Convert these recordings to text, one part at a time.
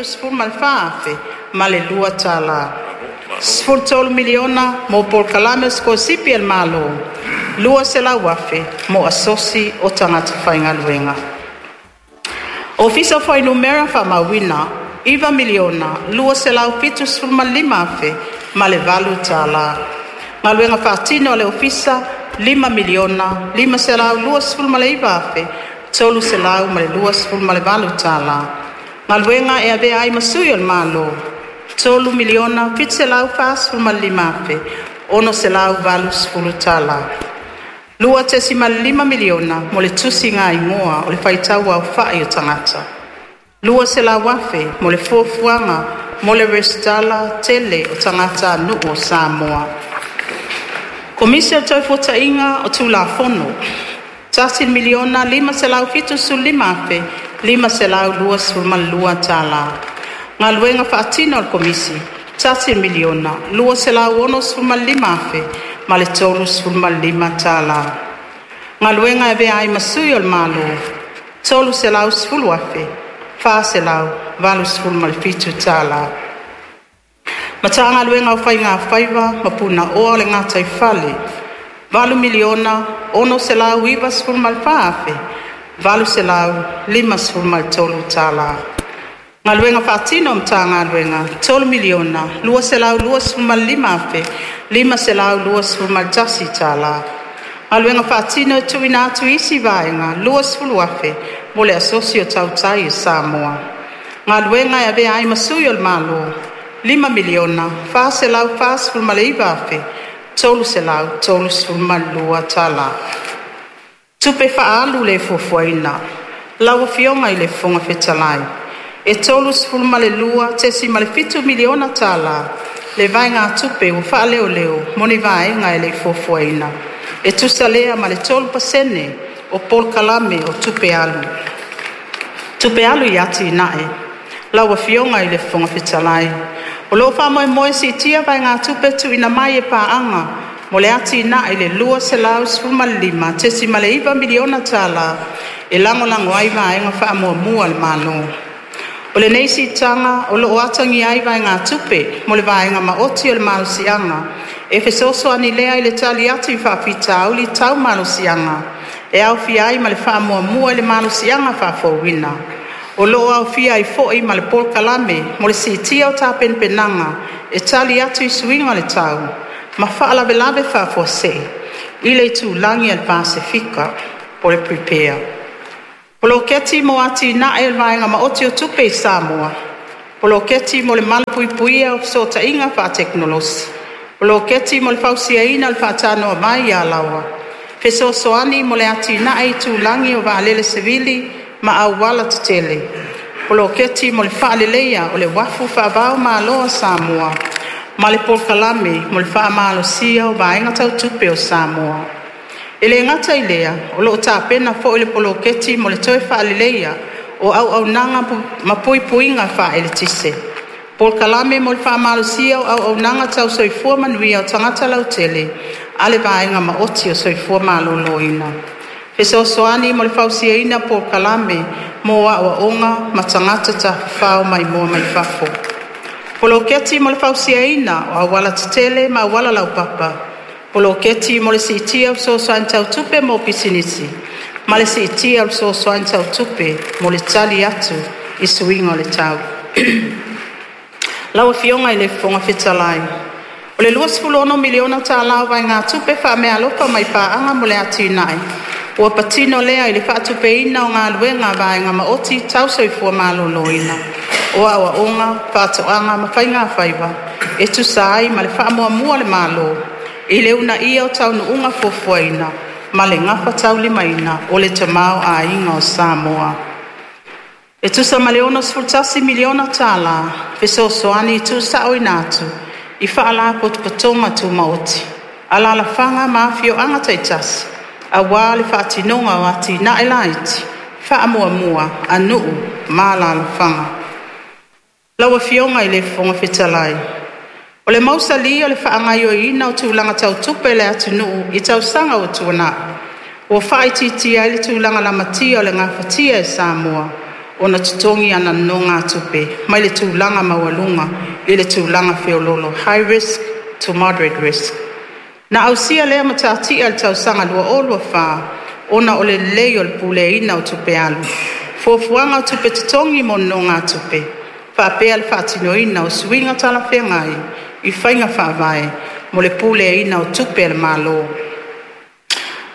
$674,002. $13miliona mo polokalame o sikolasipi a le Malo, $200,000 mo asosi o tagata faigaluega. Ofisa o Fuainumera Faamauina $9,275,008. Galuega Faatino a le Ofisa $5,529,328. Galuega e Avea ai ma Sui o le Malo $3,745,680. $2.5miliona mo le tusigaigoa o le faitau aofai o tagata. $200,000 mo le fuafuaga mo le resitala tele o tagatanuu o Samoa. Komisi o le Toefuataiga o Tulafono $1,575,522. Galuega Faatino a le Komisi $1,265,035. Galuega e Avea ai ma Sui o le Malo $310,487. Matagaluega o Faiga Faiva ma Punaoa o le Gataifale $8,694,853. Galuega Faatino a Matagaluega $3,225,521. Galuega Faatino e tuuina atu i isi Vaega $20,000 mo le Asosi o Tautai o Samoa. Galuega e Avea ai ma Sui o le Malo $5,449,332. Tupe Faaalu le Fuafuaina. Lau Afioga i le Fofoga Fetalai, e $32.7miliona tala le vaegatupe ua faaleoleo mo ni vaega e le i fuafuaina, e tusa lea ma le 3% o polokalame o tupe alu. Tupe Alu i Atinae. Lau Afioga i le Fofoga Fetalai, O lo'o faamoemoe e siitia vaegatupe tuuina mai e paaga mo le atinae i le $215.9miliona tala e lagolago ai vaega faamuamua a le Malo. O lenei siitaga o lo'o atagia ai vaegatupe mo le vaega maoti o le malosiaga e fesoasoani lea i le tali atu i faafitauli tau malosiaga, e aofia ai ma le faamuamua i le malosiaga faafouina. O lo'o aofia ai foi ma le polokalame mo le siitia o tapenapenaga e tali atu i suiga o le tau ma faalavelave faafuasei i le itulagi a le Pasefika (PREPARE). Poloketi mo Atinae o le Vaega Maoti o Tupe i Samoa, Poloketi mo le Malupuipuia o Fesootaiga Faatekonolosi, Poloketi mo le Fausiaina o le Faatanoavai i Alaoa, Fesoasoani mo le Atinae Itulagi o Vaalele Savili ma Auala Tetele, Poloketi mo le Faaleleia o le Uafu Faava-o-Malo a Samoa ma le Polokalame mo le Faamalosia o Vaega Tau Tupe o Samoa. E le gata i lea, o lo'o tapena foi le poloketi mo le toe faaleleia o auaunaga ma puipuiga faa-eletise, polokalame mo le faamalosia o auaunaga tau soifua manuia o tagata lautele a le Vaega Maoti o le Soifua Maloloina, fesoasoani mo le fausiaina o polokalame mo aoaoga ma tagata tafafao maimoa mai fafo, poloketi mo le fausiaina o aualatetele ma auala laupapa, poloketi mo le siitia o fesoasoani tau tupe mo pisinisi, ma le siitia o le fesoasoani tau tupe mo le tali atu i suiga o le tau. Lau Afioga i le Fofoga Fetalai, O le $26miliona tala o vaegatupe faameaalofa mai paaga mo le atinae, ua patino lea i le faatupeina o galuega a vaega maoti tau soifua maloloina, o aoaoga, faatoaga ma faigafaiva e tusa ai ma le faamuamua a le Malo i le uunaia o taunuuga fuafuaina ma le gafataulimaina o le tamaoaiga o Samoa. E tusa ma le $61miliona tala fesoasoani tuusaoina atu i Faalapotopotoga Tumaoti, Alalafaga ma Afioaga taitasi aua le faatinoga o atinae laiti faamuamua a nuu ma alalafaga. Lau Afioga i le Fofoga Fetalai, O le mausali o le faagaoioiina o tulaga tau tupe a le atunuu i tausaga ua tuanai, ua faaitiitia ai le tulaga lamatia o le gafatia e Samoa ona totogi ana nonogatupe mai le tulaga maualuga i le tulaga feoloolo, high risk to moderate risk. Na ausia lea matatia i le tausaga 2024 ona o le lelei o le puleaina o tupe alu, fuafuaga o tupe totogi mo nonogatupe, faapea le faatinoina o suiga talafeagai i faiga faavae mo le puleaina o tupe a le Malo.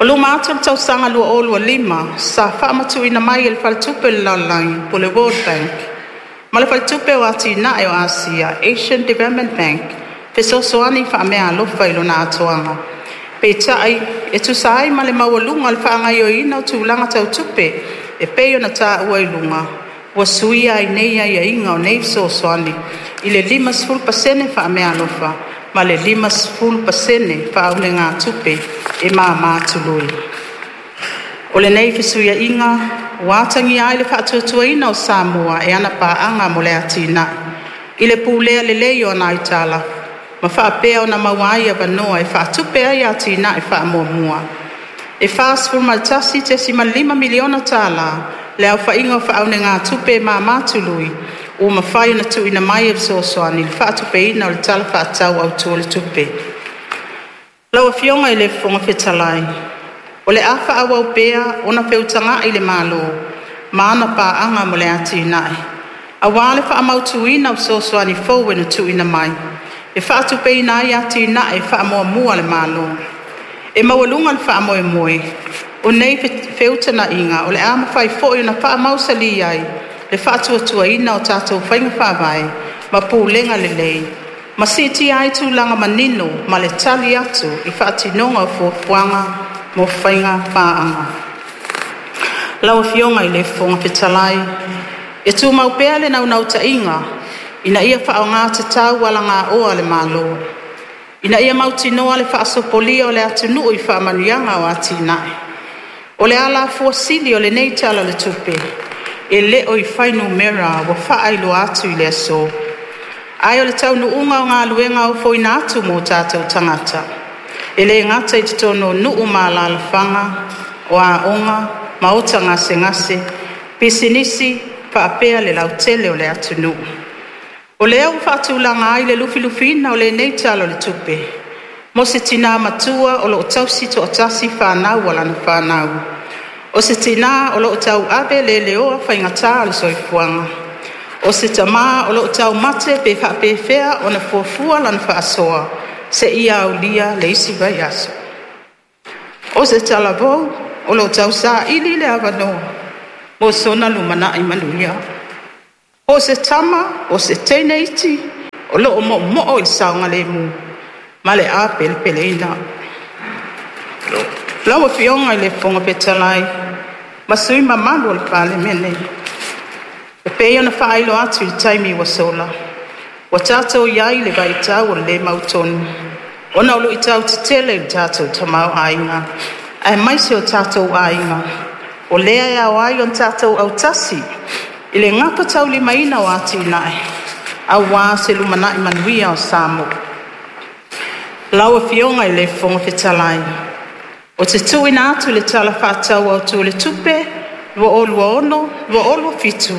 O luma atu o le tausaga 2025, sa faamatuuina mai e le Faletupe o le Lalolagi po o le World Bank ma le Faletupe o Atinae o Asia, Asian Development Bank fesoasoani faameaalofa i lona atoaga. Peitai, e tusa ai ma le maualuga o le faagaoioiina o tulaga tau tupe e pei ona taua i luga, ua suia ai nei aiaiga o nei fesoasoani i le 50% faameaalofa ma le 50% faaunegatupe e mama tului. O lenei fesuia'iga ua atagia ai le faatuatuaina o Samoa e ana Paaga mo le Atinae i le pulea lelei o ana aitalafu, ma faapea ona maua ai avanoa e faatupe ai atinae faamuamua. E $41.5 miliona tala le aofaiga o faaunegatupe e mama tului ua mafai ona tuuina mai e fesoasoani i le faatupeina o le Tala Faatatau Autu o le Tupe. Lau Afioga i le Fofoga Fetalai, o le a faaauau pea ona feutaga'i le Malo ma ana Paaga mo le Atinae, auā le faamautuina o fesoasoani fou e na tuuina mai e faatupeina ai atinae faamuamua a le Malo. E maualuga le faamoemoe, o nei feutagaiga o le a mafai foi ona faamausali ai le faatuatuaina o tatou faiga faavae ma pulega lelei, ma siitia ai tulaga manino ma le tali atu i faatinoga o fuafuaga mo faiga paaga. Lau Afioga i le Fofoga Fetalai, E tumau pea le naunautaiga ina ia faaaoga tatau alagaoa a le Malo ina ia mautinoa le faasopolia o le atunuu i faamanuiaga o atinae. O le alafua sili o lenei Tala o le Tupe, e le o i fuainumera ua faailoa atu i le aso, ae o le taunuuga o galuega ofoina atu mo o tatou tagata, e le gata i totonu o nuu ma alaalafaga, o aoga, maota gasegase, pisinisi faapea le lautele o le atunuu. O lea ua faatulaga ai le lufilufiina o lenei Tala o le Tupe, mo se tina matua o lo o tausi toatasi fanau a lana fanau, o se tina o lo o tauave leleoa faigata o le soifuaga, o se tama o lo o taumate pe faapefea ona fuafua lana faasoa seia aulia le isi vaiaso, o se talavou o lo o tausaili le avanoa mo sona lumanai manuia, o se tama po o se teine iti o lo o moomoo i le saogalemu ma le apelepeleina. Lau Afioga i le Fofoga Fetalai ma sui usufono mamalu o le Palemene, e pei ona faailoa atu i le taimi ua sola, ua tatou i ai i le vaitau o le le mautonu ona o lu'itau tetele i le tatou tamaoaiga aemaise o tatou aiga. O lea e ao ai ona tatou autasi i le gafataulimaina o atinae aua se lumanai manuia o Samoa. Lau Afioga i le Fofoga Fetalai, ou te tuuina atu le Tala Faatatau Autu o le Tupe 2026/2027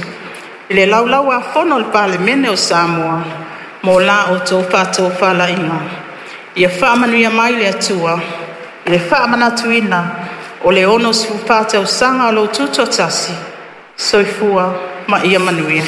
i le Laulau-a-Fono a le Palemene o Samoa mo la outou faatofalaiga. Ia faamanuia mai le Atua i le faamanatuina o le 64 tausaga o lou Tutoatasi. Soifua ma ia manuia.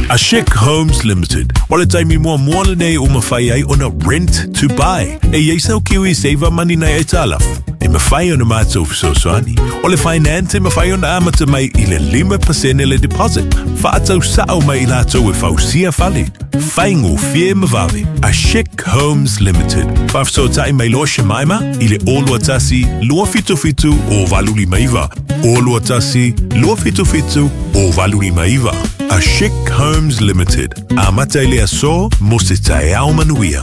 Ashik Homes Limited. O le taimi muamua lenei ua mafai ai ona rent to buy. E i ai sau Kiwi Saver Money nai aitalafu. E mafai ona matou fesoasoani. O le finance e mafai ona amata mai i le 5% le deposit. Faatau sao mai i latou e fausia fale. Faigofie ma vave. Ashik Homes Limited. Faafesootai mai loa Shemaima i le 021 277 0859. 021 277 0859. Ashik Homes Limited. Amata i le aso mo se taeao manuia.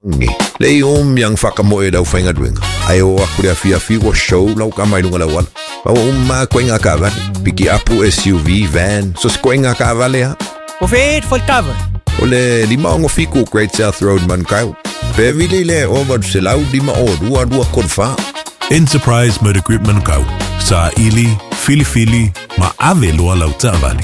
Ngi. Le o miang whakamoe e lau whaingaluenga. Ai o aku le afiafi ua show lau ka mai lunga lau ala. Ma ua uma koe ngā kaavale. Piki apu SUV, van, so se koe ngā kaavale ha. O whē whai tava. O le 567 Great South Road Manukau. Pe vili le o 800 502 234. Enterprise Motor Group Manukau. Sa ili, filifili, ma ave loa lau taavale.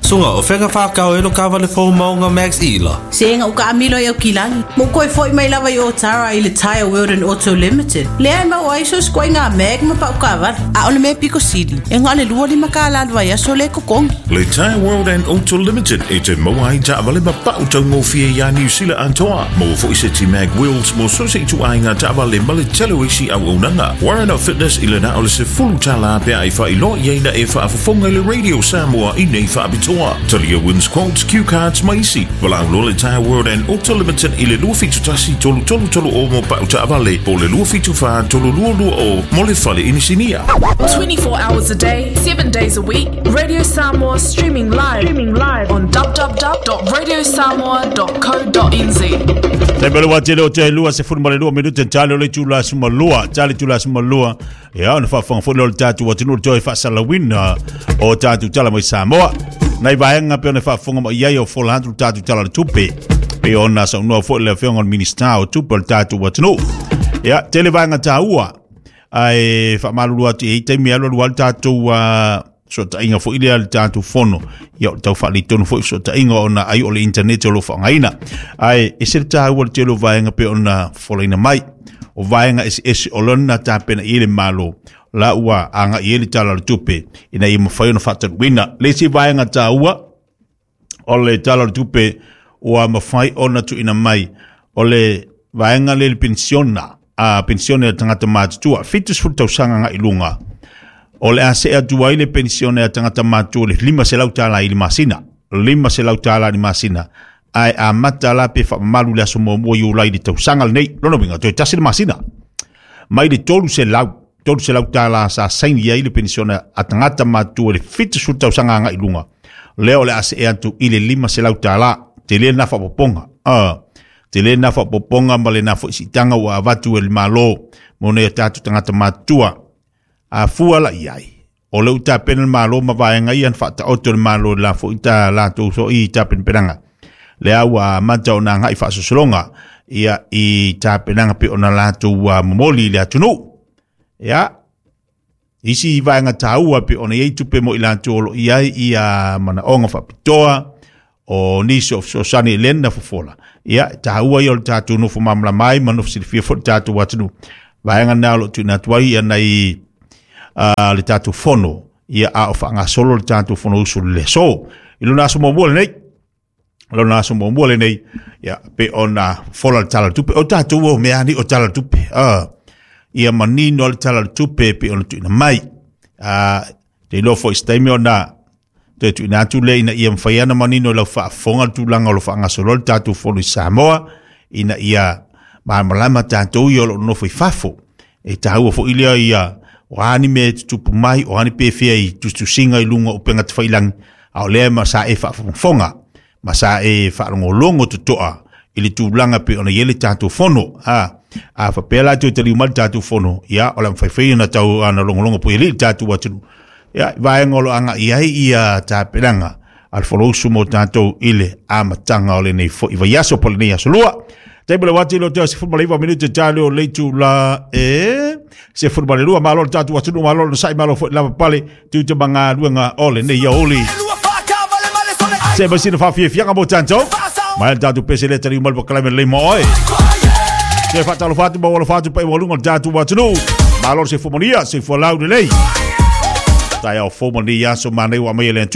Sunga, o whenga whākau e lo kawale fō maunga Max Ila. Se nga uka amilo i au kilagi. Mo koe foi mai lava i o tara i le Tire World and Auto Limited. Lea e mau ai so skoe ngā mag ma pau kawale. A ole me piko sili. E ngā le lua lima ka la lua ia so le kokongi. Le Tire World and Auto Limited e te maua ai taavale ma pau taugofie iā Niu Sila atoa. Maua foi se ti mag wheels mo so se ituaiga taavale ma le tele o isi auaunaga. Warren of Fitness i le na o le $10 pe a e faailoa i ai na e faafofoga i le Radio Samoa i nei faapitoa. Talia wins quotes, cue cards ma isi. Valaau loa le Tire World and Auto Limited i le 271 3330 mo pau taavale po o le 274 3220 mo le fale inisinia. 24 hours a day, 7 days a week, Radio Samoa streaming live, streaming live on www.radiosamoa.co.nz. Taimi o le wā tele o te 22 minute tale o le itula 12, tale itula 12, ia ona faafofoga foi lea o le tatou atunuu i le toe faasalauina o tatou tala mai Samoa. Nai vaega pei ona faafofoga mai ai o fola atu le tatou tala o le tupe, pei ona saunoa foi le afioga o le Minisita o Tupe o le tatou atunuu. Ia, tele vaega taua, ae faamalulu atu e i ai taimi e alualu ai le tatou fesootaiga foi lea le tatou fono, ia o le tau faaletonu foi fesootaiga ona ai o le internet o lo o faaaogaina. Ae ese le taua o le tele o vaega pei ona folaina mai, o vaega eseese o lona tapena i ai le Malo la ua agai i ai le Tala o le Tupe ina ia mafai ona faatanuina. Le isi vaega taua o le Tala o le Tupe ua mafai ona tuuina mai, o le vaega lea i le penisiona, a penisione a tagata matutua, 70 tausaga agai i luga, o le a see atu ai le penisione a tagata matutua i le $500 i le masina, $500 i le masina, ae amata la pe faamamalu i le aso 1 Iulai i le tausaga lenei. Lona uiga, toe tasi le masina. Mai le 300, $300 sa saini ai le penisione a tagata matutua i le 70 tausaga agai i luga, lea o le a see atu i le $500. Tele lena faaopoopoga. Tele lena faaopoopoga ma lena foi siitaga ua avatu e le Malo mo nei o tatou tagata matutua. A fua la i ai, o lea ua tapena le Malo ma vaega ia na faataoto e le Malo i la foi ta latou foi tapenapenaga. Lea ua amata ona agai faasosologa ia i tapenaga pei ona latou momoli i le atunuu. Ia, isi vaega taua pei ona i ai tupe mo i latou o lo o i ai ia manaoga faapitoa, o nisi o fesoasoani i lena fofola. Ia, e taua ia o le tatou nofo malamalama ai ma nofo silafia foi le tatou atunuu. Vaega na o lo o tuuina atu ai ia nai le tatou fono, ia a o faagasolo le tatou fono usu i le aso. I lona aso muamua lenei, lona aso muamua lenei, ia, pe ona fofola le Tala o le Tupe. O tatou o mea ni o Tala o le Tupe. Ia manino le Tala o le Tupe pe ona tuuina mai. Te iloa foi se taimi ona toe tuuina atu lea ina ia mafai ona manino i lau faafofoga le tulaga o lo o faagasolo ai le tatou fono i Samoa, ina ia malamalama tatou ia o lo o nonofo i fafo. E taua foi lea ia o a ni mea e tutupu mai, o a ni pefea i tusitusiga i luga o upega tafailagi, a o lea ma sa e faafogafoga ma sa e faalogologo totoa i le tulaga pei ona i ai le tatou fono. A faapea la toe taliu mai le tatou fono, ia o le a mafai ona tau ana logologo pui alii le tatou atunuu. Ia, i vaega o lo o agai i ai ia tapenaga a le Fonousu mo tatou i le amataga o lenei foi vaiaso po o lenei aso lua. Taimi o le uati lea o te 19 minute tale o le itula e 12. Malo le tatou atunuu, malo le nasai, malo foi le lavapapale, tiute ma galuega o lenei aoauli. Se mai sina faafiafiaga mo tatou. Mai le tatou pese lea taliu mai le pakalame lelei mo oe. Se faatalofa atu ma alofa atu pa i luga o le tatou atunuu. Malo le soifua manuia, soifua laulelei. Taeao fou ma lenei aso manai ua aumai e le Atua.